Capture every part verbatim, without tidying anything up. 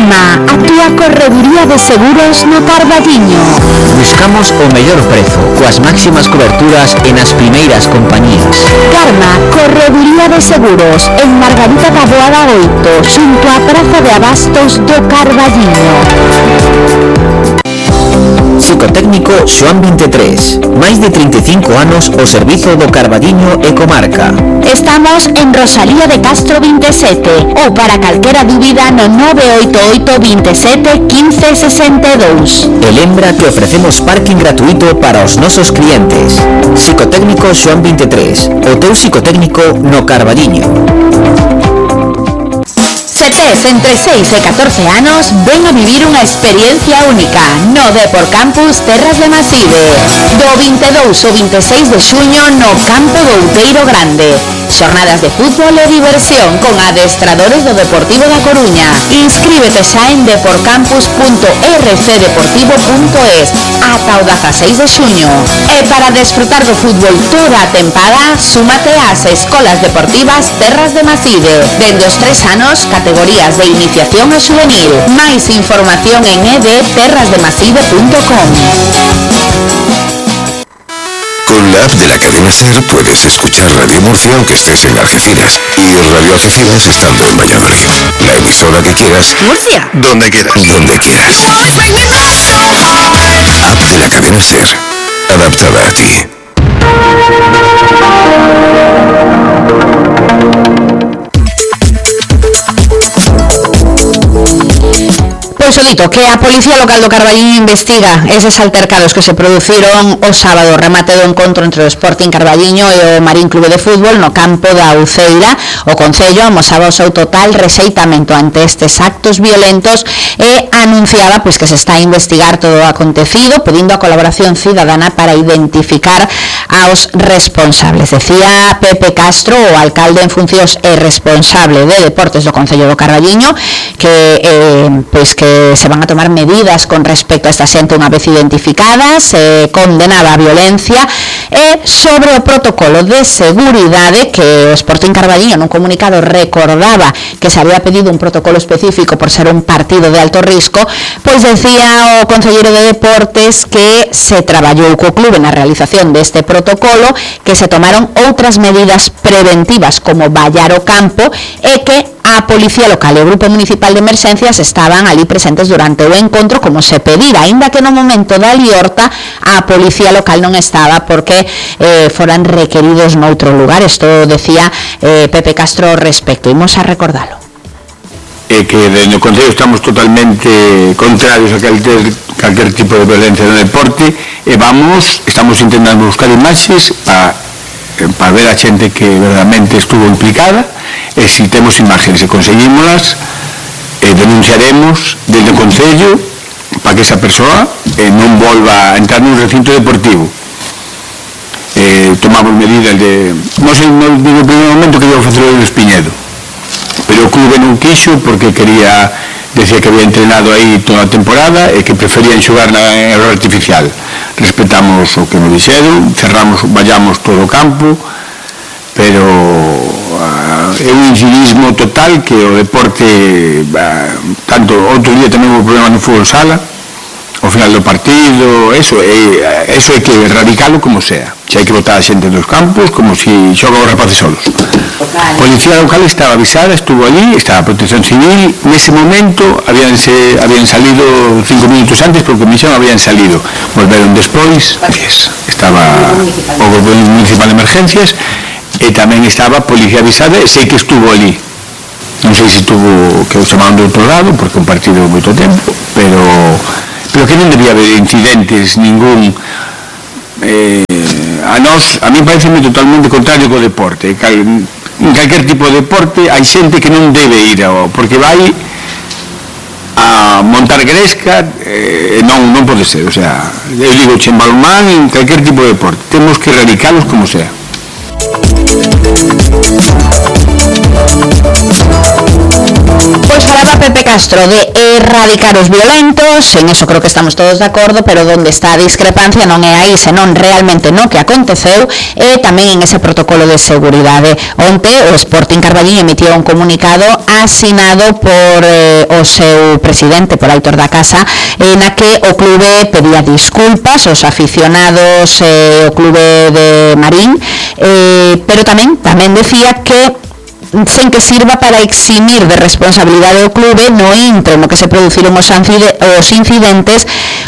Karma, a túa correduría de seguros no Carballiño. Buscamos o mellor prezo, coas máximas coberturas e nas primeiras compañías. Karma, correduría de seguros, en Margarita da Boada oito, xunto á Praza de Abastos do Carballiño. Psicotécnico Xoán vinte e tres. Máis de trinta e cinco anos ao servizo do Carballiño e comarca. Estamos en Rosalía de Castro vinte e sete ou para calquera dúbida no nove oito oito, veintisiete, quince, sesenta e dous. E lembra que ofrecemos parking gratuito para os nosos clientes. Psicotécnico Xoán vinte e tres. O teu psicotécnico no Carballiño. Se tes entre seis e catorce anos, ven a vivir unha experiencia única no Depor Campus Terras de Maside. Do vinte e dous ao vinte e seis de xuño no campo do Outeiro Grande. Xornadas de fútbol e diversión con adestradores do Deportivo da Coruña. Inscríbete xa en deporcampus punto r c deportivo punto es ata o dezaseis de xuño. E para desfrutar do fútbol toda a tempada, súmate ás Escolas Deportivas Terras de Maside. Dende os tres anos, categorías de iniciación a juvenil. Máis información en e d terras de maside punto com. Con la app de la cadena SER puedes escuchar Radio Murcia aunque estés en Algeciras y Radio Algeciras estando en Valladolid. La emisora que quieras. Murcia. Donde quieras. Donde quieras. App de la cadena SER. Adaptada a ti. Pois o dito, que a Policía Local do Carballiño investiga eses altercados que se produciron o sábado, remate do encontro entre o Sporting Carballiño e o Marín Clube de Fútbol no campo da Uceira. O Concello amosaba o seu total rexeitamento ante estes actos violentos e anunciaba pois que se está a investigar todo o acontecido, pedindo a colaboración cidadana para identificar aos responsables. Decía Pepe Castro, o alcalde en funcións e responsable de deportes do Concello do Carballiño, que eh, pois que se van a tomar medidas con respecto a esta xente unha vez identificada, se condenaba a violencia, e sobre o protocolo de seguridade que o Sporting Carballiño nun comunicado recordaba que se había pedido un protocolo específico por ser un partido de alto risco, pois decía o concelleiro de deportes que se traballou co clube na realización deste protocolo, que se tomaron outras medidas preventivas como vallar o campo e que a Policía Local e o Grupo Municipal de Emerxencias estaban ali presentes durante o encontro como se pedira, aínda que no momento da liorta a Policía Local non estaba porque eh, foran requeridos noutro lugar. Isto decía eh, Pepe Castro ao respecto. Imos a recordalo. E que desde o Concello estamos totalmente contrarios a calquer, calquer tipo de violencia no deporte e vamos, estamos intentando buscar imaxes para para ver a xente que verdadeiramente estuvo implicada e se temos imaxes e conseguímolas eh, denunciaremos desde o Concello para que esa persoa eh, non volva a entrar nun recinto deportivo. Eh, tomamos medidas de non sei, non digo en primeiro momento que iba a facer o Espiñedo, pero o clube non quixo porque quería, decía que había entrenado aí toda a temporada e que preferían xogar na error artificial. Respetamos o que nos dixeron, cerramos, vallamos todo o campo, pero uh, é un incivismo total que o deporte, uh, tanto outro día tamén o problema no fútbol sala, ao final do partido, eso é, eso é que erradicalo como sea. Se hai que botar a xente dos campos como se si xogan os rapaces solos. A Policía Local estaba avisada, estuvo allí, estaba a Protección Civil, nese momento habían, se, habían salido cinco minutos antes porque me dixeron habían salido, volveron despois, estaba o Grupo Municipal de Emergencias e tamén estaba a Policía avisada e sei que estuvo allí. Non sei se estuvo que o chamaban do outro lado porque un partido moito tempo, pero pero que non debía haber incidentes ningún. Eh, a nós, a mí pareceme totalmente contrario co deporte. Cal, en calquer tipo de deporte hai xente que non debe ir ao, porque vai a montar gresca e eh, non, non pode ser, o sea, eu digo en balonmán, en calquer tipo de deporte temos que erradicalos como sea. Pois falaba Pepe Castro de erradicar os violentos, en eso creo que estamos todos de acordo, pero onde está a discrepancia non é aí, senón realmente no que aconteceu e tamén en ese protocolo de seguridade. Onte o Sporting Carballiño emitiu un comunicado asinado por eh, o seu presidente, por Aitor da Casa, eh, na que o clube pedía disculpas aos aficionados e eh, o clube de Marín, eh, pero tamén tamén decía que sen que sirva para eximir de responsabilidade do clube no intre no que se produciron os incidentes,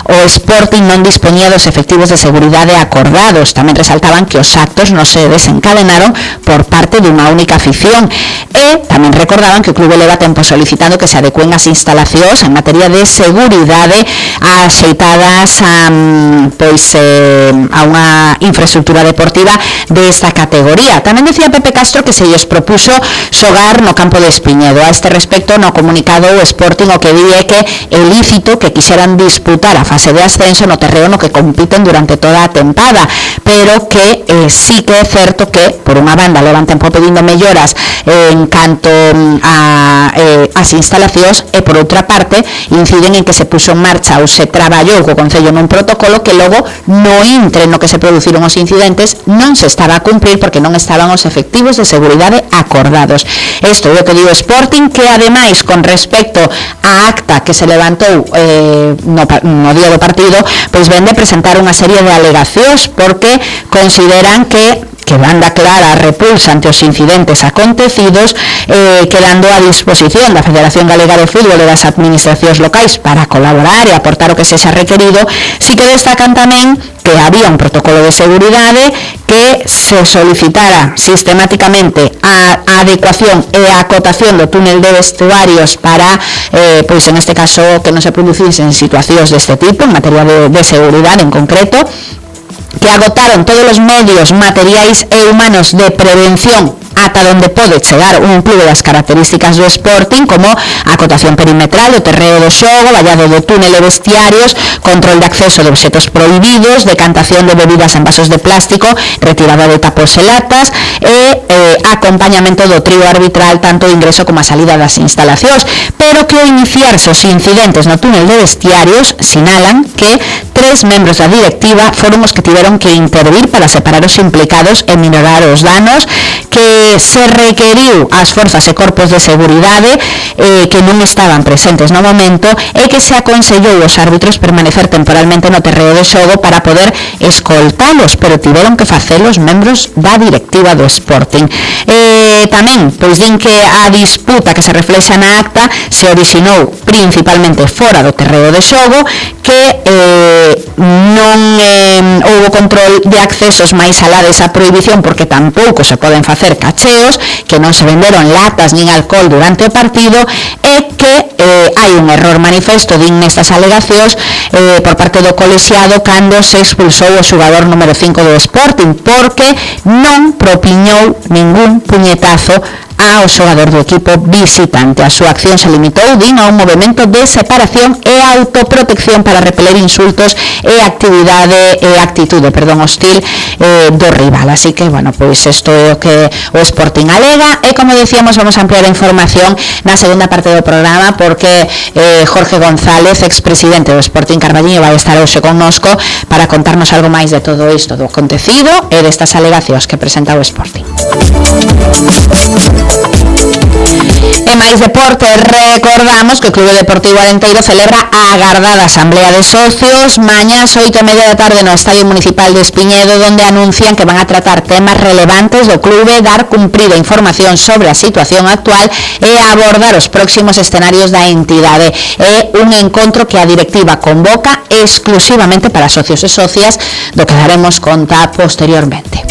o Sporting non dispoñía dos efectivos de seguridade acordados. Tamén resaltaban que os actos non se desencadenaron por parte dunha única afición e tamén recordaban que o clube leva tempo solicitando que se adecuen as instalacións en materia de seguridade axeitadas a, pois, eh, a unha infraestructura deportiva desta categoría. Tamén decía Pepe Castro que se lles propuso xogar no campo de Espiñedo. A este respecto, no comunicado o Sporting o que di é que é lícito que quixeran disputar a fase de ascenso no terreo no que compiten durante toda a tempada, pero que eh, sí que é certo que, por unha banda, levan tempo pedindo melloras eh, en canto a eh, as instalacións e, por outra parte, inciden en que se puxo en marcha ou se traballou co Concello nun protocolo que logo no intre no que se produciron os incidentes non se estaba a cumprir porque non estaban os efectivos de seguridade acordados. Isto é o que digo Sporting, que ademais con respecto á acta que se levantou eh, no, no día do partido, pois ven de presentar unha serie de alegacións porque consideran que que banda clara repulsa ante os incidentes acontecidos, eh, quedando a disposición da Federación Galega de Fútbol e das administracións locais para colaborar e aportar o que sexa requerido. Si que destacan tamén que había un protocolo de seguridade, que se solicitara sistemáticamente a, a adecuación e a acotación do túnel de vestuarios para, eh, pois en este caso, que non se producisen situacións deste tipo en materia de, de seguridade en concreto, que agotaron todos os medios materiais e humanos de prevención ata onde pode chegar un clube das características do Sporting, como a acotación perimetral do terreo do xogo, vallado do túnel e vestiarios, control de acceso de obxetos prohibidos, decantación de bebidas en vasos de plástico, retirada de tapos e latas e eh, acompañamento do trío arbitral tanto o ingreso como a salida das instalacións, pero que ao iniciarse os incidentes no túnel de vestiarios sinalan que tres membros da directiva foron os que tiveron que intervir para separar os implicados e minorar os danos, que se requeriu ás forzas e corpos de seguridade eh, que non estaban presentes no momento e que se aconsellou aos árbitros permanecer temporalmente no terreo de xogo para poder escoltalos, pero tiveron que facelo os membros da directiva do Sporting. Eh, tamén, pois din que a disputa que se reflexa na acta se orixinou principalmente fora do terreo de xogo, que eh, non eh, houbo control de accesos máis alá desa prohibición porque tampouco se poden facer cacheos, que non se venderon latas nin alcohol durante o partido e que eh, hai un error manifesto din nestas alegacións eh, por parte do colexiado cando se expulsou o xogador número cinco do Sporting porque non propiñou ningún puñetazo ao xogador do equipo visitante. A súa acción se limitou, din, a un movimento de separación e autoprotección para repeler insultos e actividade e actitude, perdón, hostil eh, do rival. Así que, bueno, pois isto é o que o Sporting alega e, como decíamos, vamos a ampliar a información na segunda parte do programa porque eh, Jorge González, expresidente do Sporting Carballiño, vai estar hoxe connosco para contarnos algo máis de todo isto, do acontecido e destas alegacións que presenta o Sporting. E máis deporte, recordamos que o Clube Deportivo Arenteiro celebra a agardada Asamblea de Socios mañás oito e media da tarde no Estadio Municipal de Espiñedo, donde anuncian que van a tratar temas relevantes do clube, dar cumprida información sobre a situación actual e abordar os próximos escenarios da entidade. É un encontro que a directiva convoca exclusivamente para socios e socias, do que daremos conta posteriormente.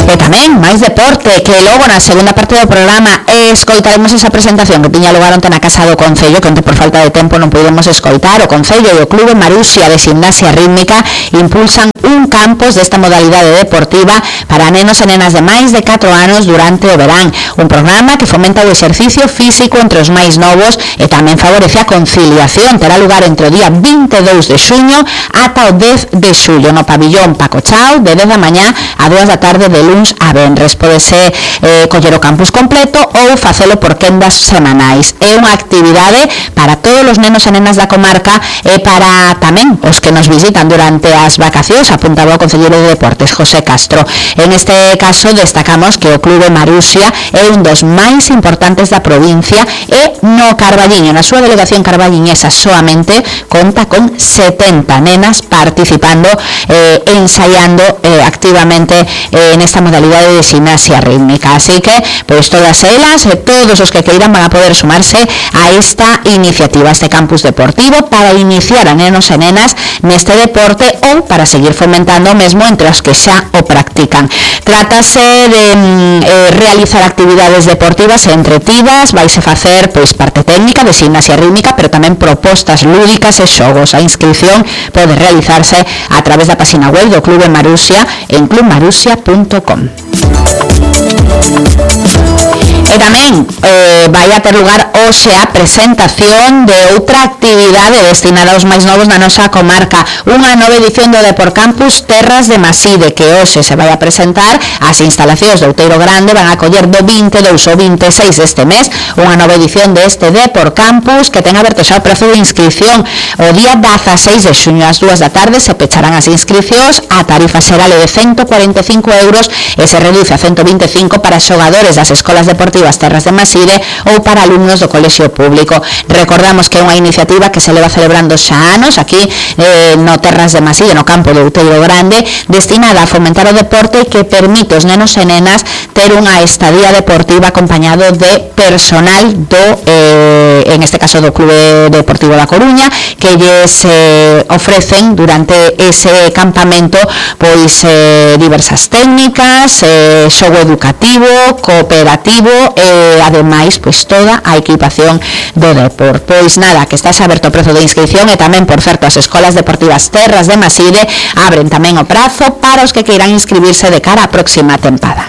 E tamén máis deporte, que logo na segunda parte do programa escoitaremos esa presentación que tiña lugar onte na Casa do Concello, que onte por falta de tempo non pudemos escoitar. O Concello e o Clube Marusia de Gimnasia Rítmica impulsan un vinte e un campos desta modalidade deportiva para nenos e nenas de máis de catro anos durante o verán, un programa que fomenta o exercicio físico entre os máis novos e tamén favorece a conciliación. Terá lugar entre o día vinte e dous de xuño ata o dez de xullo no pabillón Paco Chao, de dez da mañá a dúas da tarde de luns a venres. Podese eh, coller o campus completo ou facelo por quendas semanais. É unha actividade para todos os nenos e nenas da comarca e para tamén os que nos visitan durante as vacacións, apuntaba o concelleiro de Deportes, José Castro. En este caso destacamos que o Clube Marusia é un dos máis importantes da provincia e no Carballiño, na súa delegación carballiñesa, soamente conta con setenta nenas participando eh, ensayando eh, activamente eh, en esta modalidade de gimnasia rítmica. Así que, pois todas elas e todos os que queiran van a poder sumarse a esta iniciativa, a este campus deportivo, para iniciar a nenos e nenas neste deporte ou para seguir fomentando o mesmo entre os que xa o practican. Trátase de eh, realizar actividades deportivas e entretidas, vaise facer pois parte técnica de gimnasia rítmica, pero tamén propostas lúdicas e xogos. A inscripción pode realizarse a través da página web do Clube Marusia en club marusia punto com. E tamén eh, vai a ter lugar hoxe a presentación de outra actividade destinada aos máis novos na nosa comarca, unha nova edición do Depor Campus Terras de Maside, que hoxe se vai a presentar. As instalacións do Outeiro Grande van a coller do vinte e dous ao vinte e seis deste mes unha nova edición deste Depor Campus que ten aberto xa o prazo de inscripción. O día dezaseis de xuño ás dúas da tarde se pecharán as inscripcións. A tarifa será de ciento cuarenta e cinco euros e se reduce a ciento vinte e cinco para xogadores das escolas deportivas Terras de Maside ou para alumnos do colexio público. Recordamos que é unha iniciativa que se leva celebrando xa anos aquí eh, no Terras de Maside, no campo do Outeiro Grande, destinada a fomentar o deporte e que permite aos nenos e nenas ter unha estadía deportiva acompañado de personal do, eh, en este caso do Clube Deportivo da Coruña, que lles eh, ofrecen durante ese campamento pois eh, diversas técnicas, eh, xogo educativo, cooperativo e ademais pois toda a equipación do Depor. Pois nada, que está aberto o prazo de inscripción e tamén, por certo, as escolas deportivas Terras de Maside abren tamén o prazo para os que queiran inscribirse de cara á próxima tempada.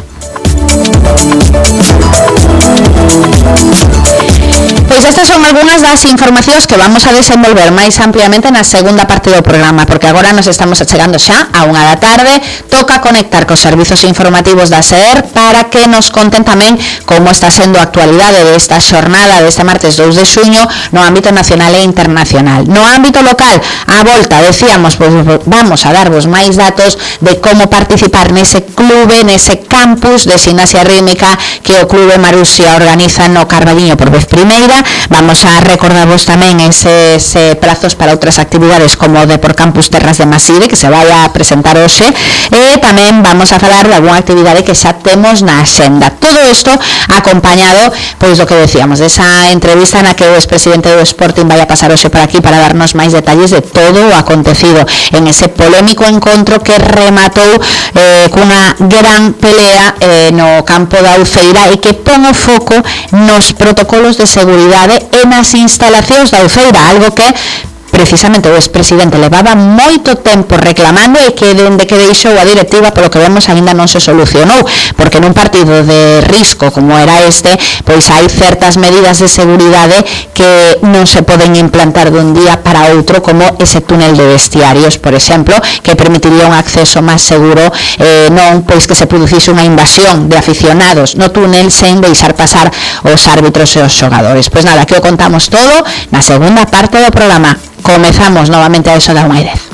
Pois estas son algunhas das informacións que vamos a desenvolver máis ampliamente na segunda parte do programa, porque agora nos estamos achegando xa a unha da tarde. Toca conectar cos servizos informativos da S E R para que nos conten tamén como está sendo a actualidade desta xornada deste martes dous de xuño no ámbito nacional e internacional. No ámbito local, a volta, decíamos, pois vamos a darvos máis datos de como participar nese clube, nese campus de gimnasia rítmica que o Clube Marusia organiza no Carballiño por vez primeira. Vamos a recordarvos tamén eses eh, plazos para outras actividades como o Depor Campus Terras de Maside, que se vai a presentar hoxe, e tamén vamos a falar de algunha actividade que xa temos na axenda. Todo isto acompañado, pois do que decíamos, desa entrevista na que o expresidente do Sporting vai a pasar hoxe por aquí para darnos máis detalles de todo o acontecido en ese polémico encontro que rematou eh, cunha gran pelea eh, no campo da Uceira e que pon o foco nos protocolos de seguridade e nas instalacións da Uceira, algo que precisamente o expresidente levaba moito tempo reclamando e que dende que deixou a directiva, polo que vemos, aínda non se solucionou, porque nun partido de risco como era este, pois hai certas medidas de seguridade que non se poden implantar dun día para outro, como ese túnel de vestiarios, por exemplo, que permitiría un acceso máis seguro, eh, non pois que se producise unha invasión de aficionados no túnel sen deixar pasar os árbitros e os xogadores. Pois nada, que o contamos todo na segunda parte do programa. Comezamos novamente a eso da unha e dez.